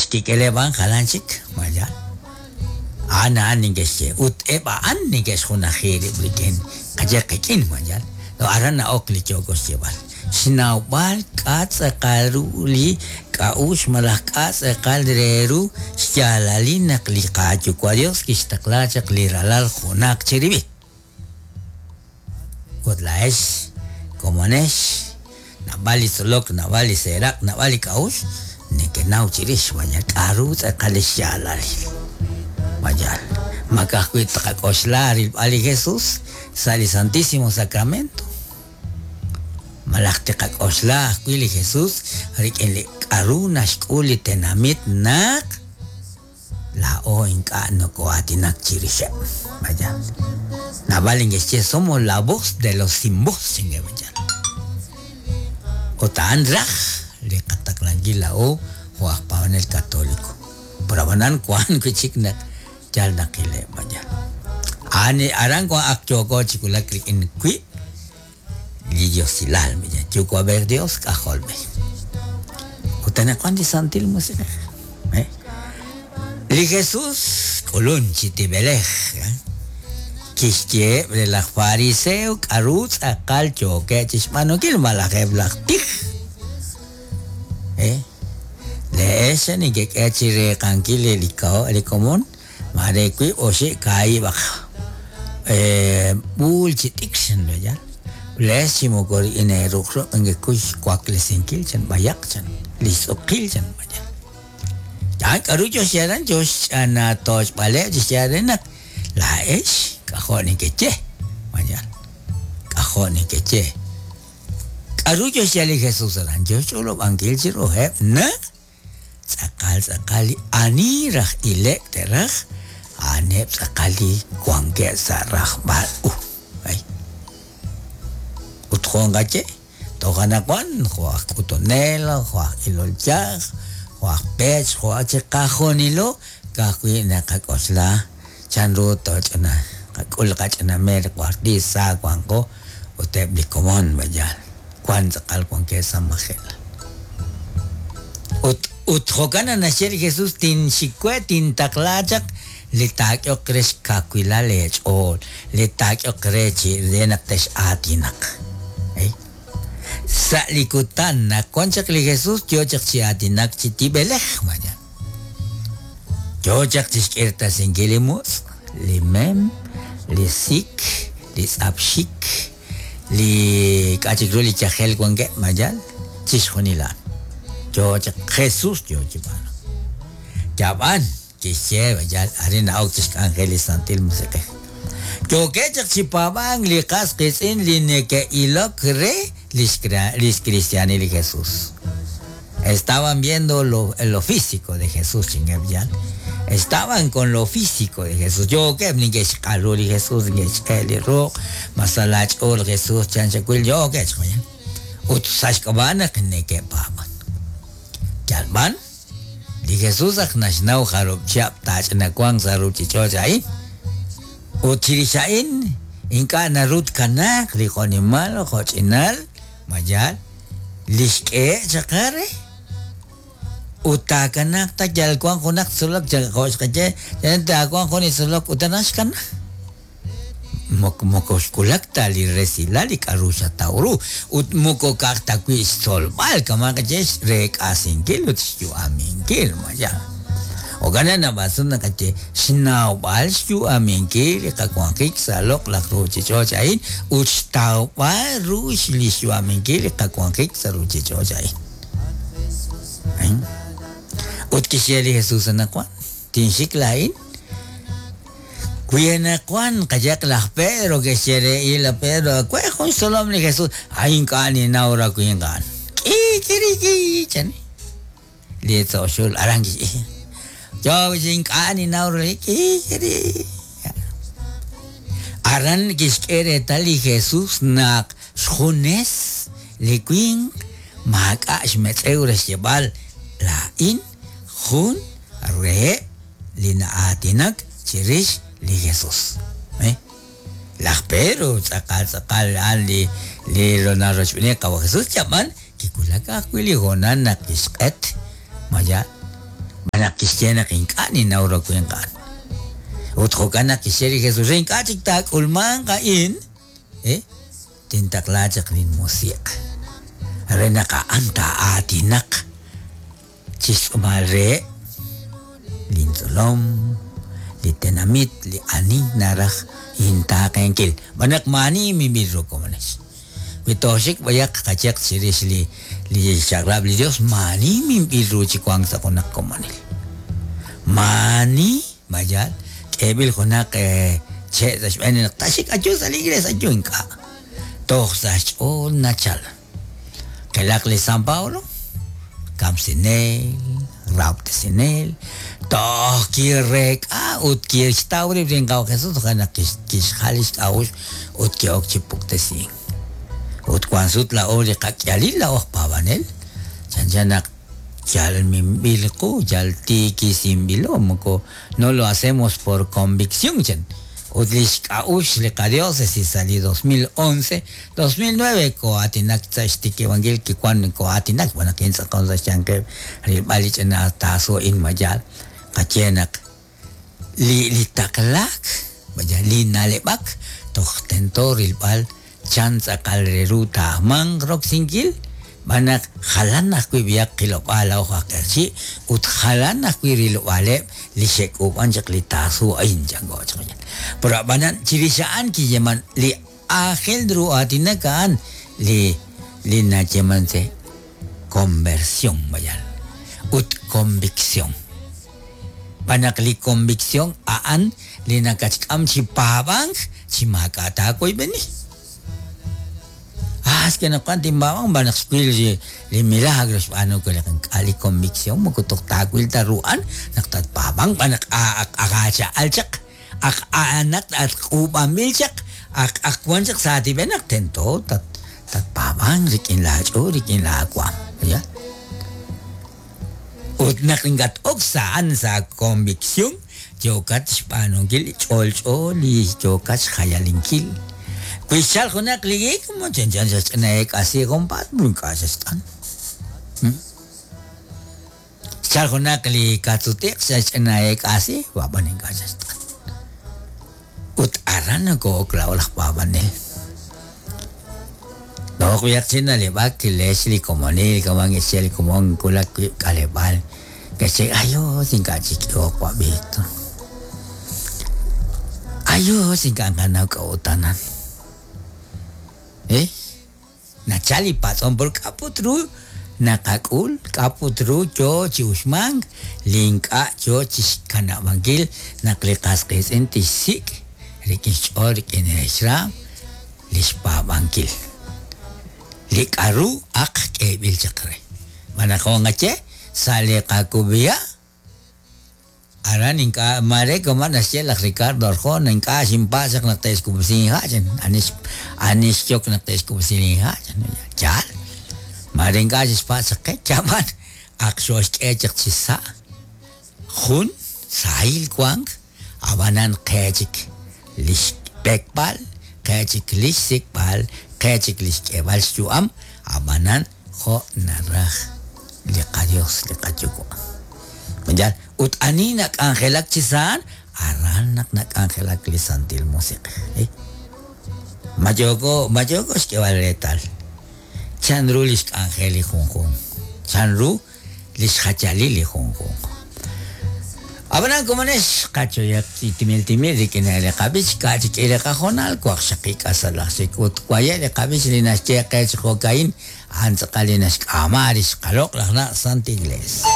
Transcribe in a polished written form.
Li xkik'eleb' a'an jalan chik, ma yaal? A'an a'an neke'xye, ut eb' a'an neke'xjunaji rib' rik'in, qaye qik'in, ma yaal? Aran na'ok li yooko xyeeb'al. Xnawb'al k'a' tz'aqal ru li k'a'uxl malaj k'a' tz'aqal re ru xyaalalil naq li qaYuwa' Dios kixtaqla chaq li Ralal junaq chirib'il. Ut laa'ex komonex, naab'al li tzolok, naab'al li seeraq', naab'al li k'a'uxl nekenaw chirix, vaya k'a'ru tz'aqal li xyaalalil. Vaya, ma ka'ajwi' tqak'oxla rilb'al li Jesus sa' li Santísimo Sacramento, malaj tiqak'oxla ajwi' li Jesus rik'in li k'a'ru naxk'ul li tenamit naq Laa'o ink'a' nokoo'aatinak chirixeb'. Vaya. Naab'al neke'xye somos la voz de los sin voz, chinkeb' vaya. Ut a'an raj li qataqlankil laa'o jo' aj paab'anel katoliko. Pero ab'anan wank wi' chik naq yal naqileb' vaya. A'an aran wan ak yooko chi wulak rik'in wiib' li Diosilal, vaya, Yuwa'b'ej Dios, K'ajolb'ej. Ut anaqwan li Santil Musiq'ej. Eh? Li Jesús k'ulun chi tib'elej. Eh? Kixyeheb' re laj fariseo k'aru tz'aqal yookeb' chi xb'aanunkil malaj eb' laj tij. Eh? Le'ex nekek'e chi reeqankil li komon Maare wiib' oxib' kaahib'aq b'uul chi t'ikr chan vaya. Lees chi moko rik'in eeruq' nekekuy xwaklesinkil chan b'ayaq chan li xtz'uqil chan vaya. A'an k'aru yo xyeeral yo xch'anatoch'b'aleb' chi xyeeb'al re naq laa'ex k'ajo' nekeye vaya k'ajo' nekeye. K'aru yo xyeeb'al li Jesús aran? Yo xch'olob'ankil chiruheb' naq Tz'aqal tz'aqal li ani raj ile'k te'raj, a'aneb' tz'aqal li wankeb' sa' rajb'al u. Ay. Ut jo' nqaye, toj anaqwan, jo' aj k'utunel, jo' aj ilol yaj, jo' aj pech, jo' aj chiqajunilo, ka'ajwi' naqak'oxla chanru tooch'ina, qak'ul qach'ina meer warti sa wanqo ut eb' li komon, b'ayal. Wank tz'aqal wankeb' sa' majelal. Ut, ut jo'kan naq naxye li Jesús, Tinxik we, tintaqla chaq li taak'ehoq re xkawilal leech'ool, li taak'ehoq re chi re naq tex'aatinaq. Ey. Sa' li kutan naq wan chaq li Jesús yo chaq chi aatinak chi tib'elej, vaya. Yo chaq chi xk'irtasinkil li mutz', li mem, li sik, li tz'apxik, Li k'a' chik ru li yajel wankeb', ma yaal? Chixjunil a'an. Yoo chaq Jesús yoo chi b'aanunk. Yab'an, kixye, ma yaal? Arin na'ok chi xk'anjel li Santil Musiq'ej. Yookeb' chaq chi paab'ank li qas qiitz'in li neke'ilok re lix kristiaanil li Jesús. Estaban viendo lo, lo físico de Jesús, chinkeb' yaal. Estaban con lo físico de Jesús. Yookeb' neke'xq'alu li Jesús, neke'xk'e li ruq', ma sa' laach'ool Jesús chan xawil, yookeb' xjoyal. Ut sa' xk'ab'a' naq neke'paab'an. Yal b'an, li Jesús ak naxnaw jarub' chihab' taach'ina wanq sa' ruuchich'och' a'in. Ut chirix a'in, ink'a' naru tkanaaq li jo'nimal jo'ch'inal, ma yaal? Li xk'ehe' chaq re ut taakanaaq ta yal wank junaq tzolok jo' xqaye taawanq jun li tzolok ut aran xkana. Moko moko xwulak ta li resilal li k'a'ru xataw ru ut moko ka'aj ta wi' xtzolb'al kama' qaye xreek'asinkil ut xyu'aminkil ma yaal. Jo'kan naq naab'al sut naqaye xnawb'al xyu'aminkil li qawanjik sa' loq'laj ruuchich'och' a'in ut xtawb'al ru li xyu'aminkil li qawanjik sa' ruuchich'och' a'in. Ut kixye li Jesús anaqwan, tinxik laa'in. Wi anaqwan qayaq laj Pedro ke'xye re il laj Pedro, we jun xtzolom li Jesús, ay ink'a' ninnaw ra winq a'an. K'ikiriki chan. Li tzo' xul aran kixye, Yo chi ink'a' ninnaw ru li k'ikiri. Aran kixk'e reetal li Jesús naq xjunes li winq maak'a' xmetz'ew re xyeeb'al, Laa'in jun reheb' li na'aatinak chirix li Jesús. Laj Pedro tz'aqal tz'aqal a'an li li narochb'eeni Qawa' Jesús, yab'an kiwulak ajwi' li hoonal naq kixq'et ma yaal? Naq kixye naq ink'a' ninnaw ru winq a'an. Ut jo'kan naq kixye li Jesús re ink'a' chik taak'ulmanq a'in, tintaqla chaq linmusiq' re naq a'an taa'aatinaq chi xtz'uumal reheb' lintzolom, li tenamit, li ani naraj intaaqenkil. Xb'aan naq maa'ani minb'il ru komonex. Wi tooxik b'ayaq qayeq chirix li li xchaq'rab' li Dios, maa'ani minb'il ru chi wank sa' junaq komonil. Maa'ani, mayal, k'eeb'il junaq che' sa' xb'een naq taaxik ayu sa' li iglees, ayu ink'a'. Toj sa' xch'ool nachal. Qilaq li San Pablo, kamsinel, rahob'tesinel, toj kireek'a ut kixtaw rib' rik'in Qawa' Jesús toja' naq kixjal lix k'a'uxl ut ki'ok chi puktesink. Ut wank sut laa'o li qak'ihalil laa'o aj paab'anel, chanchan naq yal minb'il qu, yal tiikisinb'ilo, moko no lo hacemos por convicción chan. Ut li xk'a'uxl li qadiócesis sa' li 2011, 2009 koo'aatinak sa' xtikib'ankil kiwan koo'aatinak xb'aan naq kintz'aqon sa' xyanqeb' rilb'al li ch'ina taasu a'in ma yaal qaye naq li li taqlaak vaya li na'leb'ak toj tento rilb'al chan tz'aqal re ru taajmanq roksinkil xb'aan naq jalan ajwi' b'ihaq qilob'aal laa'o aj q'eqchi' ut jalan ajwi' rilob'aaleb' li xe'k'uub'an chaq li taasu a'in chanko chaq. Pero ab'anan chirix a'an kiyeeman li aajel ru aatinak a'an li li nayeeman se conversión vaya ut convicción. Xb'aan naq li convicción a'an li nakatxk'am chi paab'ank chi maak'a' taawoyb'eni. Ah, es que naq tinpaab'ank xb'aan naq xwil li milagro xb'aanu we li ink'a' li convicción moko toj taawil ta ru a'an naq tatpaab'ank xb'aan naq aq'acha'al chaq aq a'anaq at k'uub'anb'il chaq aq aq wan chaq sa' aatib'el naq tento tatpaab'ank rik'in laach'ool rik'in laawaam. Ya. Ut naq nkat-ok sa' a'an sa' convicción yookat xb'aanunkil ch'olch'o li yookat xjayalinkil. Wi xchalk junaq li hiik, mo chanchan xaxch'ina eek'asi junpaat, ink'a' xaxt'an. Xchalk junaq li kaatsutiq xaxch'ina eek'asi, ab'an ink'a' xaxt'an. Ut aran nokoo'ok laa'o laj paab'anel. Toj b'ihaq chi na'leb'ak lex li komonil kaman ke'xye li komon wulak wib' k'aleb'aal ke'xye ayos ink'a' chik k'ehok wab'ito. Ayos ink'a' nqanaw k'a'ut anan. Eh? Nachal li patz'om por k'a' put ru naqak'ul, k'a' put ru yo chi uxmank li ink'a' yo chi xkanab'ankil naq li qas qiitz'in tixsik' rik'in xch'ool rik'in xraam li xpaab'ankil li k'a'ru aq k'eeb'il chaq re. Xb'aan naq jo' nqaye sa' li qakub'iha' aran ink'a' maare kama' naxye laj Ricardo Arjona ink'a' xinpatz' chaq naq te'xkub'si inha' chan ani ani xyok naq te'xkub'si linha' chan yaal maare ink'a' xixpatz' chaq qe yab'an aq xooxk'e chaq chi sa' jun sahil wank ab'anan qe chik li xb'ekb'al qe chik li xsik'b'al qe chik li xk'eeb'al xyu'am ab'anan jo' naraj li qaDios li qaYuwa'. Yaal, ut ani nak'anjelak chi sa' a'an, aran naq nak'anjelak li Santil Musiq'ej. Ma yooko ma yooko xk'eeb'al reetal chanru li xk'anjel li junjunq, chanru li xjayalil li junjunq. Ab'anan komonex qachoyaq chi timil timil rik'in li qab'ich ka' chik k'i li qahoonal waqxaqib' k'asal aj chik ut waye' li qab'ich li naxye qe chi jo'ka'in a'an tz'aqal li naxk'aama rix qaloq' laj na' Santa Iglesia.